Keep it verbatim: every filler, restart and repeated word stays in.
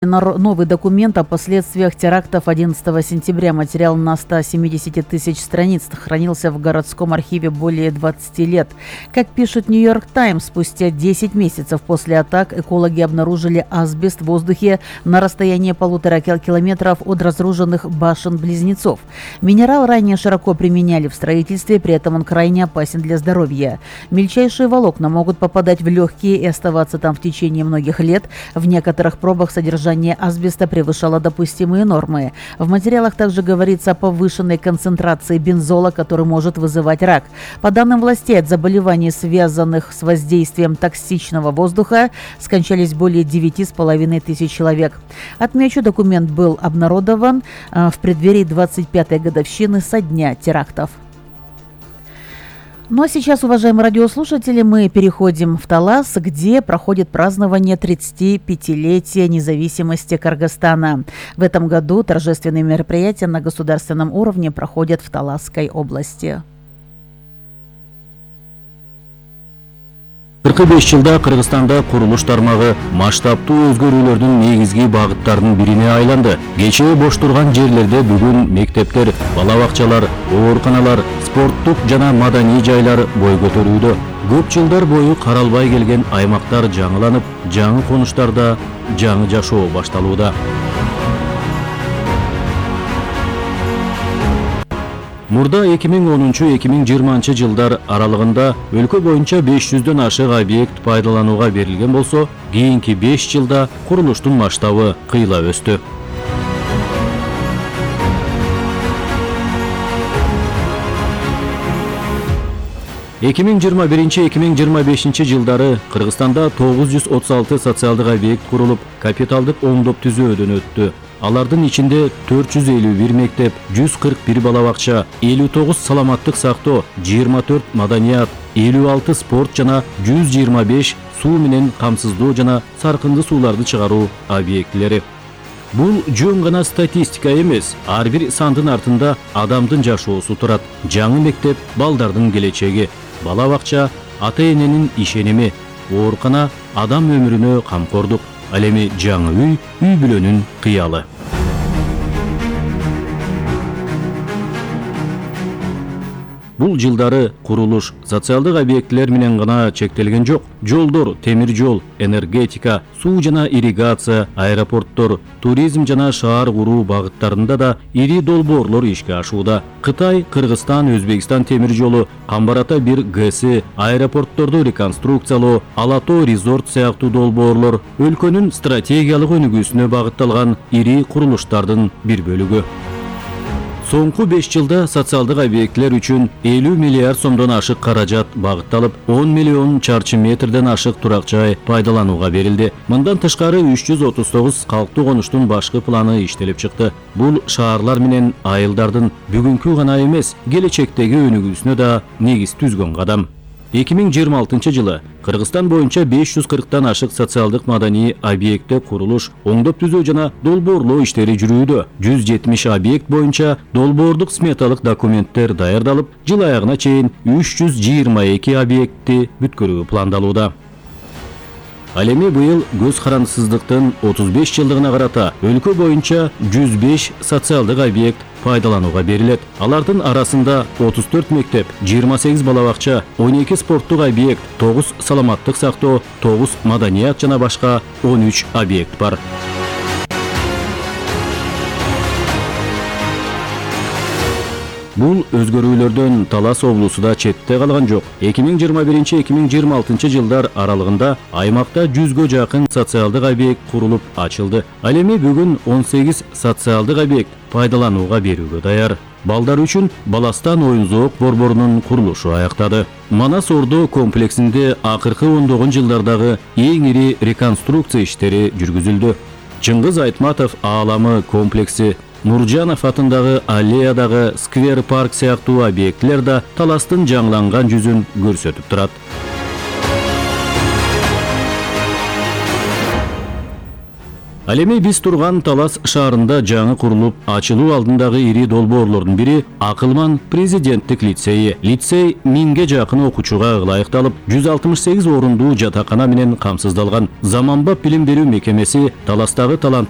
Новый документ о последствиях терактов одиннадцатого сентября. Материал на ста семидесяти тысяч страниц хранился в городском архиве более двадцати лет. Как пишет Нью-Йорк Таймс, спустя десять месяцев после атак экологи обнаружили асбест в воздухе на расстоянии полутора километров от разрушенных башен-близнецов. Минерал ранее широко применяли в строительстве, при этом он крайне опасен для здоровья. Мельчайшие волокна могут попадать в легкие и оставаться там в течение многих лет. В некоторых пробах содержание асбеста превышало допустимые нормы. В материалах также говорится о повышенной концентрации бензола, который может вызывать рак. По данным властей, от заболеваний, связанных с воздействием токсичного воздуха, скончались более девяти с половиной тысяч человек. Отмечу, документ был обнародован в преддверии двадцать пятой годовщины со дня терактов. Ну а сейчас, уважаемые радиослушатели, мы переходим в Талас, где проходит празднование тридцатипятилетия независимости Кыргызстана. В этом году торжественные мероприятия на государственном уровне проходят в Таласской области. кырк беш жылда Кыргызстанда курулуш тармагы масштабтуу өзгөрүүлөрдүн негизги багыттарынын бирине айланды. Кечээ бош турган жерлерде бүгүн мектептер, бала бакчалар, ооруканалар, спорттук жана маданий жайлар бой көтөрүүдө. Көп жылдар бою каралбай келген аймактар жаңыланып, жаңы конуштарда жаңы жашоо башталууда. Мурда эки миң онунчу — эки миң жыйырманчы жылдар аралыгында өлкө боюнча беш жүздөн ашык объект пайдаланууга берилген болсо, кийинки беш жылда курулуштун масштабы кыйла өстү. эки миң жыйырма биринчи — эки миң жыйырма бешинчи жылдары Кыргызстанда тогуз жүз отуз алты социалдык объект курулуп, капиталдык оңдоп түзөөдөн өттү. Алардын ичинде төрт жүз элүү бир мектеп, жүз кырк бир бала бакча, элүү тогуз саламаттык сактоо, жыйырма төрт маданият, элүү алты спорт жана жүз жыйырма беш суу менен камсыздоо жана саркынды сууларды чыгаруу объектилери. Бул жөн гана статистика эмес, ар бир сандын артында адамдын жашоосу турат. Жаңы мектеп балдардын келечеги, бала бакча ата-эненин ишеними, оорукана адам өмүрүнө камкордук. Ал эми жаңы үй, үй бүлөнүн кыялы. Бул жылдары курулуш социалдык объектилер менен гана чектелген жок. Жолдор, темир жол, энергетика, суу жана ирригация, аэропорттор, туризм жана шаар куруу багыттарында да ири долбоорлор ишке ашууда. Кытай, Кыргызстан, Өзбекстан темир жолу, Камбар-Ата бир ГЭСи, аэропортторду реконструкциялоо, Ала-Тоо резорт сыяктуу долбоорлор өлкөнүн стратегиялык өнүгүүсүнө багытталган ири курулуштардын бир бөлүгү. Соңку беш жылда социалдык объектилер үчүн элүү миллиард сомдон ашык каражат багытталып, он миллион чарчы метрден ашык турак жай пайдаланууга берилди. Мындан тышкары үч жүз отуз тогуз калктуу конуштун башкы планы иштелип чыкты. Бул шаарлар менен айылдардын бүгүнкү гана эмес, келечектеги өнүгүүсүнө да негиз түзгөн кадам. эки миң жыйырма алтынчы жылы Кыргызстан боюнча беш жүз кырктан ашык социалдык маданий объектте курулуш, оңдоп түзөө жана долбоорлоо иштери жүрүүдө. жүз жетимиш объект боюнча долбоордук сметалык документтер даярдалып, жыл аягына чейин үч жүз жыйырма эки объектти бүткөрүү пландалууда. Ал эми быйыл көз карандысыздыктын отуз беш жылдыгына карата өлкө боюнча жүз беш социалдык объект пайдаланууга берилет. Алардын арасында отуз төрт мектеп, жыйырма сегиз бала бакча, он эки спорттук объект, тогуз саламаттык сактоо, тогуз маданият жана башка он үч объект бар. Бул өзгөрүүлөрдөн Талас облусу да четте калган жок. эки миң жыйырма биринчи — эки миң жыйырма алтынчы жылдар аралыгында аймакта жүзгө жакын социалдык объект курулуп ачылды. Ал эми бүгүн он сегиз социалдык объект пайдаланууга берүүгө даяр. Балдар үчүн Баластан оюн-зоок борборунун курулушу аяктады. Манас Ордо комплексинде акыркы ондогон жылдардагы эң ири реконструкция иштери жүргүзүлдү. Чыңгыз Айтматов ааламы комплекси, Нуржанов атындагы аллеядагы сквер парк сыяктуу объектилер да Таластын жаңыланган жүзүн көрсөтүп турат. Ал эми биз турган Талас шаарында жаңы курулуп ачылуу алдындагы ири долбоорлордун бири Акылман президенттик лицейи. Лицей миңге жакын окуучуга ылайыкталып, жүз алтымыш сегиз орундуу жатакана менен камсыздалган. Заманбап билим берүү мекемеси Таластагы таланттуу